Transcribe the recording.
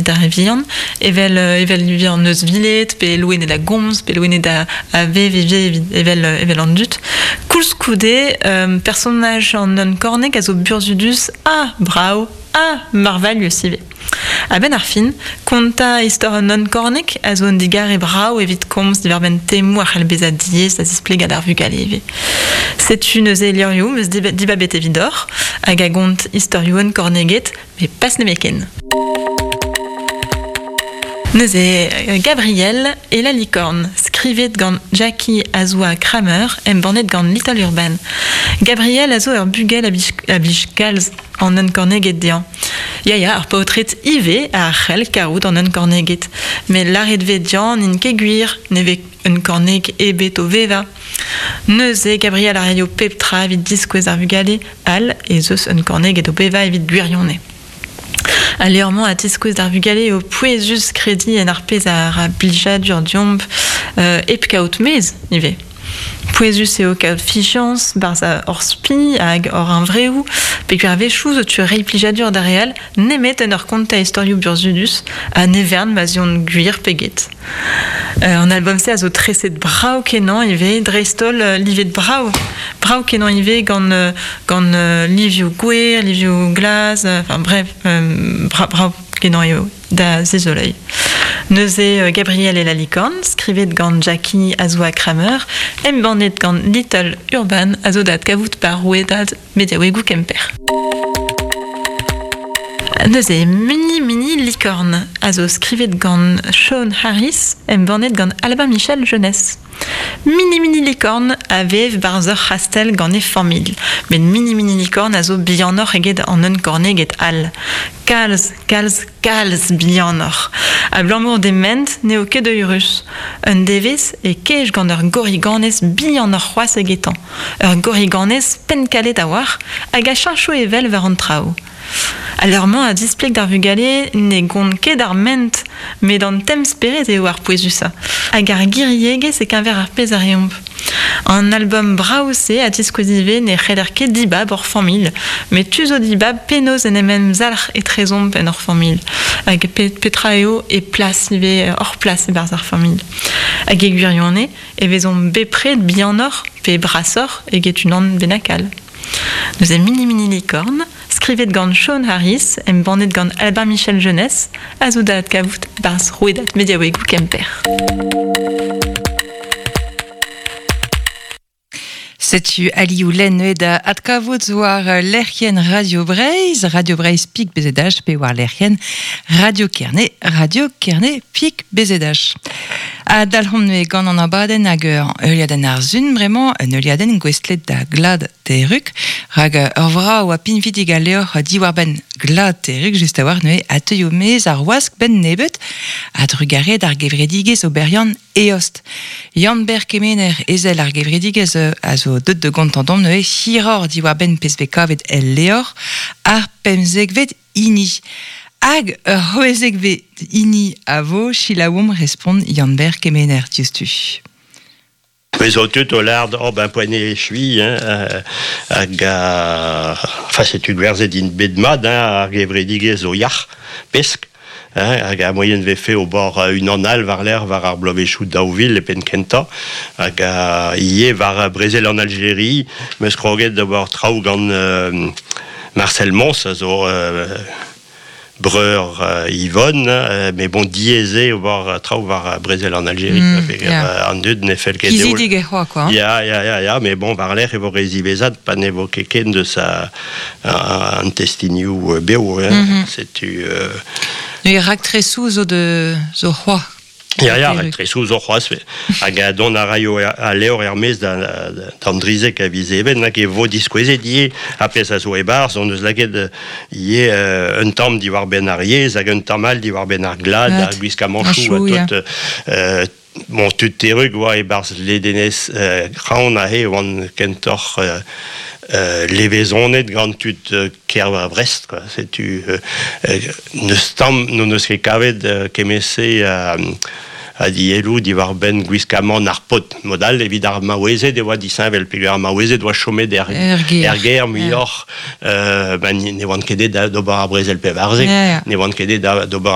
evit ar re vihan, evel evel ivez an euzhviled, pe loened a gomz, pe loened a, a vev ivez evit, evel, evel an dud. Koulskoude, personaj an unkorneg a zo burzhudus ha brav ha marvailhus ivez. A-benn ar fin, kontañ istor un unkorneg a zo un digarez brav evit komz diwar-benn temoù a c'hell bezañ diaes da zisplegañ d'ar vugale ivez. Setu neuze levrioù 'm eus dibabet evidoc'h hag a gont istorioù unkorneged, met pas nemetken. Neuze, Gabriel et la licorne, skrivet gant Jackie Azoua Kramer, embannet gant Little Urban. Gabriel a zo ur bugel a blij kalz an unkorneged dezhañ. Ya, ya, ar paotred ivez a c'hell kaout an unkorneged. Met lâret 'vez dezhañ n'int ket gwir, ne vez unkorneg ebet o vevañ. Neuze, Gabriel a raio pep tra evit diskouez ar vugale all ez eus unkorneged o vevañ evit gwirionez. Al levr-mañ a tiskouez d'ar vugale eo pouezus krediñ en ar pezh a ra blijadur deomp hep kaout mezh ivez. Pouezus eo kaout fiziañs 'barzh hor spi hag hor huñvreoù peogwir a-wechoù zo tu reiñ plijadur d'ar re all nemet en ur kontañ istorioù burzhudus ha ne vern ma 'z eont gwir pe get. An album-se a zo treset brav-kenañ ivez, dreist-holl livet brav, brav-kenañ ivez gant gant livioù gwer, livioù glas, enfin bref, brav-kenañ eo da zizoleiñ. Neuze Gabriel et la licorne, skrivet gant Jackie Azoua Kramer, embannet gant Little Urban, a zo da adkavout par rouedad mediaouegoù Kemper. Neuze, Mini Mini Licorne a zo skrivet gant Sean Harris, embannet gant Albin Michel Jeunesse. Mini Mini Licorne a vev barzh ur c'hastell gant e familh, met Mini Mini Licorne a zo bihanoc'h eget an unkorneged all. Kalz, kalz, kalz bihanoc'h. Abalamour d'he ment n'eo ket eürus. Un devezh e kej gant ur gorriganez bihanoc'h c'hoazh egetañ. Ur gorriganez penn-kalet a-walc'h hag a cheñcho evel war an traoù. Al leur-mañ a zispleg d'ar vugale ne gont ket ar ment, met an temz-spered eo ar pouezusañ, hag ar giriegezh e-keñver ar pezh a reomp. An album brav-se a ziskouez ivez ne c'heller ket dibab hor familh, met tu zo dibab penaos en em emzalc'h etrezomp en hor familh, hag petra eo e plas ivez hor plas e-barzh ar familh. Hag e gwirionez e vezomp bepred bihanoc'h pe brasoc'h eget unan bennak all. Neuze Mini Mini Licorne, skrivet gant Sean Harris, embannet gant Albin Michel Jeunesse, a zo da adkavout barzh rouedad mediaouegoù Kemper. Setu alioù lenn da adkavout war lec'hienn Radio Breizh, Radio Breizh Pik BZH pe war lec'hienn Radio Kerne, Radio Kerne Pik BZH. Ha dalc'homp neuze gant an abadenn hag ur heuliadenn ar sun bremañ, un heuliadenn gouestlet da glad Terrug, rak ur vrav ha pinvidik a levr diwar-benn glad Terrug just a-walc'h neuze a teuio maez ar wask benn nebeut, a-drugarez d'ar gevredigezh oberiant Eost. Yann-Ber Kemener, ezel ar gevredigezh, a zo deut da gontañ deomp neuze hiroc'h diwar-benn pezh vez kavet el levr ar pemzekvet hini. Hag ur c'hwezekvet hini a vo, selaouomp respont Yann-Ber Kemener diouzhtu. Me zo tud o lâret oh ben poent eo echuiñ hein, hag enfin setu gwerzhet int bet mat hein, ar gevredigezh zo yac'h, pesk, hein, hag ar moaien vefe ober unan all war-lerc'h war ar bloavezhioù 2000 e penn kentañ hag ivez war brezel an Aljeria 'm eus kroget d'ober traoù gant Marcel Mons a zo breur Yvonne, mais bon diaes eo ober traoù war brezel an Aljeria. An dud ne fell ket dezho. Kizidik eo c'hoazh quoi. Ya, ya, ya, ya, mais bon war-lerc'h e vo re ziwezhat pa ne vo ket ken deus an testinioù bev. Setu. Ne raktresoù zo de zo c'hoazh. Ya, ya, raktresoù zo c'hoazh. Hag dont a raio al levr er-maez d'an drizek a viz Even, hag e vo diskouezet ivez ar pezh a zo e-barzh. Hon eus lakaet ivez un tamm diwar-benn ar yezh hag un tamm all diwar-benn ar glad, ar gwiskamanchoù ha tout. Bon, tud terrug oa e-barzh ledenez Kraon aze oant kentoc'h levezonet gant tud kêr Brest quoi. Setu n'eus tamm n'hon eus ket kavet kement-se a dielloù diwar-benn gwiskamant ar paotr. Mod all evit ar maouezed e oa disheñvel peogwir ar maouezed oa chomet er, er gêr muioc'h ben, ne oant ket aet d'ober ar brezel 14, ne oant ket aet d'ober